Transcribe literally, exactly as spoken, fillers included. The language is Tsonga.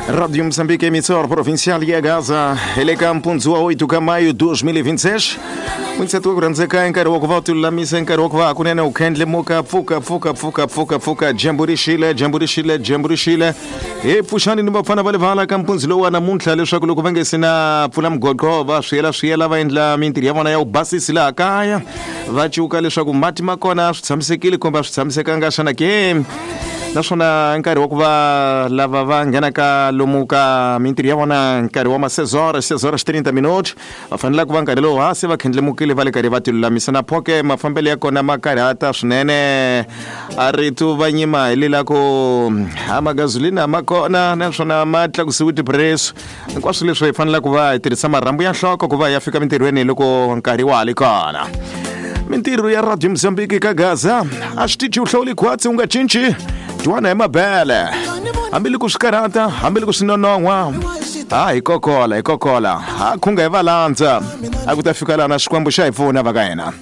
Rádio Moçambique, emissora provincial ya Gaza, hi le ka mpundzu wa oito ka maio dois mil e vinte e seis. N'wintseti wa ku rhandzeka i nkarhi wa ku va u tilulamisa, i nkarhi wa ku va hakunene u khendlemuka pfuka pfuka pfuka pfuka pfuka, dyambu ri xile, dyambu ri xile, dyambu ri xile. Hi pfuxani ni vafana va le vala ka mpundzu lowu wa namuntlha leswaku loko va nge se na pfula mughoqo va swiyela swiyela va endla mintirho ya vona ya vubasisi laha kaya, va cuka leswaku mati ma kona swi tshamisekile kumbe a swi tshamisekanga xana ke. Naswona nkarhi wa ku va lava va nghenaka lomu ka mintirho ya vona nkarhi wa ma seis horas, seis horas trinta minutos, va fanele ku va nkarhi lowu ha se va khendlemukile va le karhi va tilulamisa. Na phoke mafambelo ya kona ma karhata swinene, a rito va nyima hi lela ku a magazulina ma kona naswona ma tlakusiwe tipreso. Hinkwaswo leswi hi fanele ku va hi tirhisa marhambu ya nhloko ku va ya fika mintirhweni loko nkarhi wa ha ri kona. Mintirho ya Radio Mozambique ka Gaza a swi tichi u hlawuli khwatsi u nga cinci twana hi mabele, hambiloko swi karhata, hambiloko swi nonon'hwa, ha hi kokola hi kokola, ha khunga hi va landza, a ku ta fika laha na Xikwembu xa hi pfuna va ka hina.